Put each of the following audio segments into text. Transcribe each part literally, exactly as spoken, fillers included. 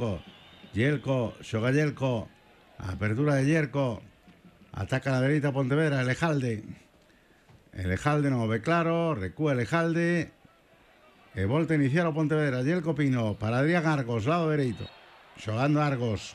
Yelko. Yelko, xoga Yelko. Apertura de Yelko. Ataca a la dereita Pontevedra, Elejalde. Elejalde non o ve claro, recúa Elejalde. E volta a iniciar o Pontevedra. Yelko Pino para Adrián Argos, lado dereito. Xogando Argos.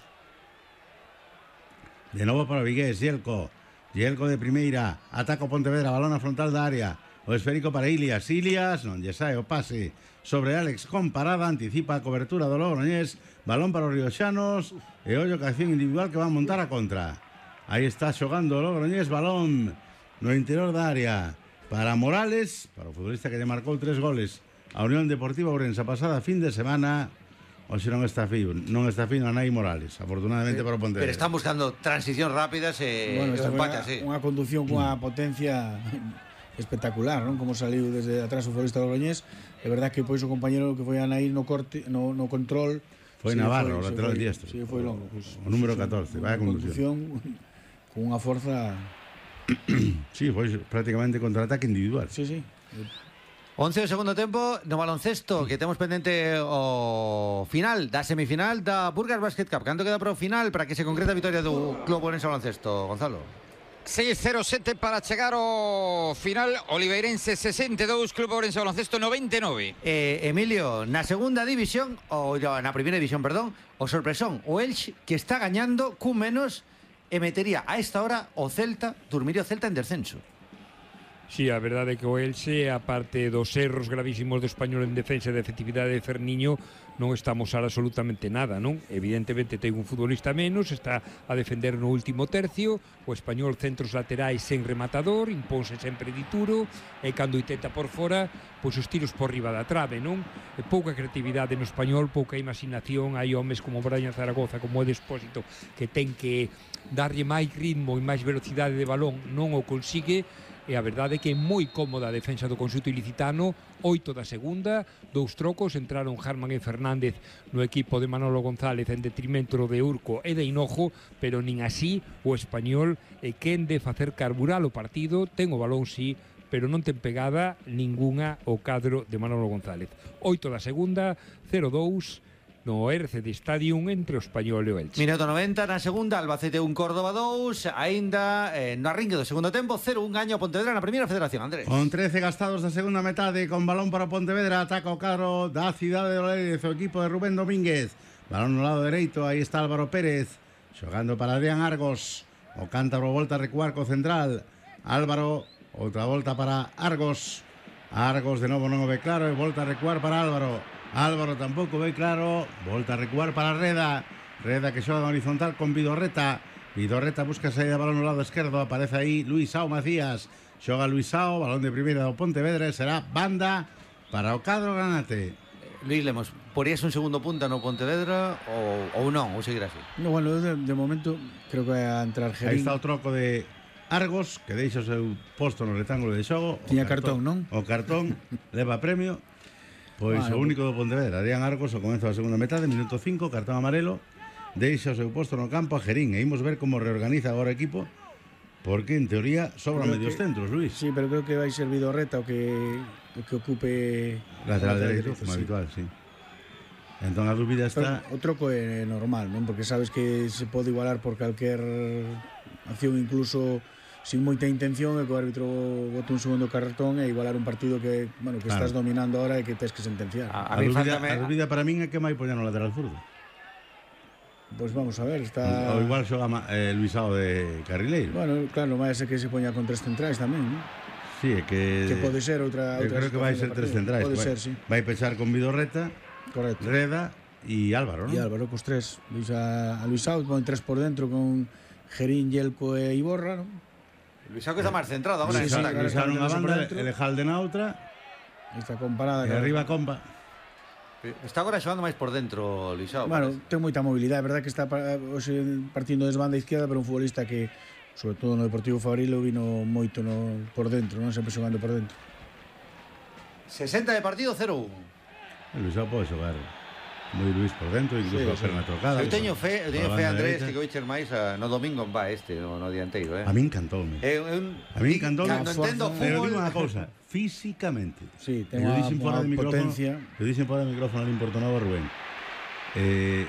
De novo para Vigués, Yelko. Yelko de primeira. Ataca o Pontevedra, balón a frontal da área. O esférico para Ilias. Ilias, non lle sae o pase sobre Alex con parada. Anticipa a cobertura do Logroñés. Balón para os rioxanos. E ollo que acción individual que va a montar a contra. Aí está xogando o Logroñés. Balón no interior da área para Morales, para o futbolista que lle marcou tres goles a Unión Deportiva Ourense a pasada fin de semana. Oxe non está fino, non está fino a Nai Morales, afortunadamente para o Pontevedra. Pero están buscando transicións rápidas e bueno, esta empate unha, así. Unha conducción cunha potencia espectacular, non? Como saliu desde atrás o futbolista do Logroñés. É verdad que pois o compañero que foi a Nair no corte, no, no control foi sí, Navarro, foi, o lateral foi, diestro. Sí, foi longo. Pues, o número catorce, vaya conducción. Con unha forza. Sí, foi prácticamente contraataque individual. Sí, sí. once do segundo tempo no baloncesto, que temos pendente o final da semifinal da Burgas Basket Cup. Canto queda para o final para que se concreta a vitória do Club Ourense Baloncesto, Gonzalo? seis cero sete para chegar ao final. Oliveirense sesenta e dous, Club Ourense Baloncesto noventa e nove. Eh, Emilio, na segunda división, ou na primeira división, perdón, o sorpresón, o Elche, que está gañando cun menos e metería a esta hora o Celta, dormiría o Celta en descenso. Sí, a verdade é que o Elche, a parte dos erros gravísimos do Español en defensa e de efectividade de Ferniño, non está a mostrar absolutamente nada, non? Evidentemente ten un futbolista menos, está a defender no último tercio, o Español centros laterais sen rematador, impónse sempre dituro, e cando intenta por fora, pois os tiros por riba da trave, non? E pouca creatividade no Español, pouca imaginación, hai homes como Brian Zaragoza, como o Despósito, que ten que darlle máis ritmo e máis velocidade de balón, non o consigue. E a verdade é que é moi cómoda a defensa do conxunto ilicitano. Oito da segunda, dous trocos, entraron Harman e Fernández no equipo de Manolo González en detrimento de Urco e de Hinojo, pero nin así o Español é quen de facer carburar o partido. Ten o balón, sí, pero non ten pegada ningunha o cadro de Manolo González. Oito da segunda, cero dous no R C D Stadium entre o Español e o Elche. Minuto noventa na segunda, Albacete un, Córdoba dous, aínda eh, no arrinque do segundo tempo, cero un gaño a Pontevedra na primeira federación, Andrés. Con trece gastados da segunda metade, con balón para Pontevedra, ataca o cadro da cidade de Lérez, o equipo de Rubén Domínguez. Balón no lado dereito, aí está Álvaro Pérez, xogando para Adrián Argos. O cántabro volta a recuar co central. Álvaro, outra volta para Argos. Argos de novo non o ve claro e volta a recuar para Álvaro. Álvaro tampouco ve claro, volta a recuar para Reda. Reda que xoga horizontal con Vidorreta. Vidorreta busca saída de balón no lado esquerdo, aparece aí Luisao Macías. Xoga Luisao, balón de primeira do Pontevedra, será banda para o cadro granate. Luis Lemos, porías un segundo punta no Pontevedra ou, ou non, ou seguir así? No, bueno, de, de momento creo que vai a entrar Gerín. Aí está o troco de Argos, que deixa o seu posto no rectángulo de xogo. Tiña cartón, non? O cartón leva premio. Pois vale, o único do Pontevedra, Adrián Argos, ao comezo da segunda metade, minuto cinco, cartón amarelo, deixa o seu posto no campo a Gerín. E imos ver como reorganiza agora o equipo, porque en teoría sobran medios que, centros, Luis. Sí, pero creo que vai ser Vidorreta o que, o que ocupe lateral dereito, como sí. Habitual, sí. Entón a dúbida está... Pero o troco é normal, non? Porque sabes que se pode igualar por calquer acción, incluso sin moita intención, e que o árbitro bote un segundo cartón e igualar un partido que, bueno, que claro, estás dominando ahora e que tens que sentenciar. A, a, a, dúbida, a dúbida para min é que vai poñer no lateral zurdo. Pois pues vamos a ver, está... O igual xoga eh, Luisao de carrileiro. Bueno, claro, vai ser que se poña con tres centrais tamén, non? Sí, é que... Que pode ser outra... Eu creo que vai ser tres centrais. Pode vai, ser, sí. Vai pechar con Vidorreta, correcto, Reda e Álvaro, non? E Álvaro, cos tres. Luis a, a Luisao pon tres por dentro con Gerín, Yelko e Iborra, non? Luisao que está máis centrado agora. Luisao nunha banda, Elejalde na outra. Está comparada. E arriba compa. Está agora xogando máis por dentro, Luisao. Bueno, parece. Ten moita mobilidade, é verdad que está hoxe partindo desde banda izquierda, pero un futbolista que, sobre todo no Deportivo Fabrilo, vino moito no, por dentro, non sempre xogando por dentro. sesenta de partido, cero un. El Luisao pode xogar moi Luis por dentro, incluso sí, a perna sí. trocada. Eu teño fe, eu teño fe, Andrés, que vai cher máis a, no domingo va este, no, no dianteiro, eh. A min encantoume. Eh, un, a min encantoume. Cando entendo fútbol, pero digo unha cousa, físicamente. Sí, ten unha potencia. Eu dixen fora do micrófono, non importou nada a Rubén. Eh,